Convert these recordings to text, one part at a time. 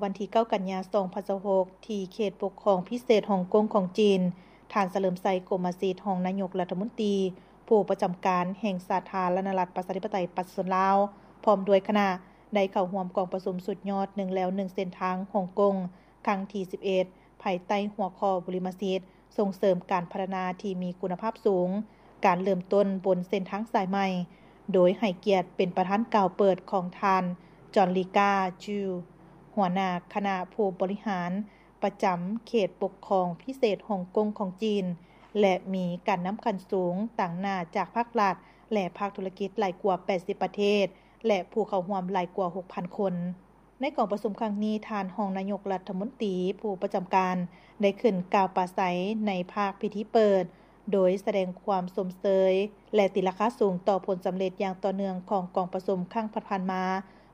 ວັນທີເກົ້າ ກັນຍາ ສອງພັນຊາວຫົກ ທີ່ເຂດປົກຄອງພິເສດຮົງກົງຂອງຈີນ, ທ່ານ ສະເຫຼີມໄຊ ກົມມະສິດ ຮອງນາຍົກລັດຖະມົນຕີ ຜູ້ປະຈຳການແຫ່ງສາທາລະນະລັດ ປະຊາທິປະໄຕ ປະຊາຊົນລາວ ພ້ອມດ້ວຍຄະນະ ໄດ້ເຂົ້າຮ່ວມກອງປະຊຸມສຸດຍອດ ໜຶ່ງແລວໜຶ່ງເສັ້ນທາງຮົງກົງ ຄັ້ງທີສິບເອັດ ພາຍໃຕ້ຫົວຂໍ້ບຸລິມະສິດ ສົ່ງເສີມການພັດທະນາທີ່ມີຄຸນນະພາບສູງ, ການເລີ່ມຕົ້ນບົນເສັ້ນທາງສາຍໃໝ່, ໂດຍໃຫ້ກຽດເປັນປະທານກ່າວເປີດຂອງທ່ານ ຈອນລີກາ ຈູ ຫົວໜ້າຄະນະຜູ້ບໍລິຫານປະຈຳເຂດປົກຄອງພິເສດຮົງກົງຂອງຈີນ ແລະ ມີການນຳຂັ້ນສູງຕາງໜ້າຈາກພາກລັດ ແລະ ພາກທຸລະກິດຫຼາຍກວ່າແປດສິບປະເທດ ແລະ ຜູ້ເຂົ້າຮ່ວມຫຼາຍກວ່າຫົກພັນຄົນ. ໃນກອງປະຊຸມຄັ້ງນີ້, ທ່ານຮອງນາຍົກລັດຖະມົນຕີຜູ້ປະຈຳການ ໄດ້ຂຶ້ນກ່າວປາໄສໃນພາກພິທີເປີດ, ໂດຍສະແດງຄວາມຊົມເຊີຍ ແລະ ຕີລາຄາສູງຕໍ່ຜົນສຳເລັດຢ່າງຕໍ່ເນື່ອງຂອງກອງປະຊຸມຄັ້ງຜ່ານໆມາ,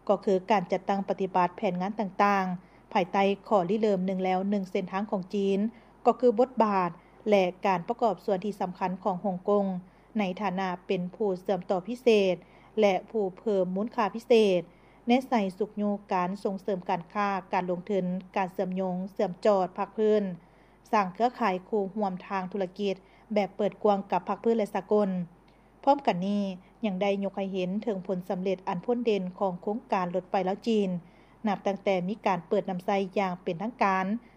ກໍຄືການຈັດຕັ້ງປະຕິບັດແຜນງານຕ່າງໆ ພາຍໃຕ້ຂໍ້ລິເລີ່ມໜຶ່ງແລວໜຶ່ງເສັ້ນທາງຂອງຈີນ, ກໍຄືບົດບາດ ແລະ ການປະກອບສ່ວນທີ່ສຳຄັນຂອງຮົງກົງ ໃນຖານະເປັນຜູ້ເຊື່ອມຕໍ່ພິເສດ ແລະ ຜູ້ເພີ່ມມູນຄ່າພິເສດ, ແນໃສ່ຊຸກຍູ້ການສົ່ງເສີມການຄ້າ, ການລົງທຶນ, ການເຊື່ອມໂຍງ, ເຊື່ອມຈອດພາກພື້ນ, ສ້າງເຄືອຂ່າຍຄູ່ຮ່ວມທາງທຸລະກິດແບບເປີດກວ້າງກັບພາກພື້ນ ແລະ ສາກົນ. ພ້ອມກັນນີ້, ຍັງໄດ້ຍົກໃຫ້ເຫັນເຖິງຜົນສຳເລັດອັນພົ້ນເດັ່ນຂອງໂຄງການລົດໄຟລາວ-ຈີນ, ນັບຕັ້ງແຕ່ມີການເປີດນຳໃຊ້ຢ່າງເປັນທາງການ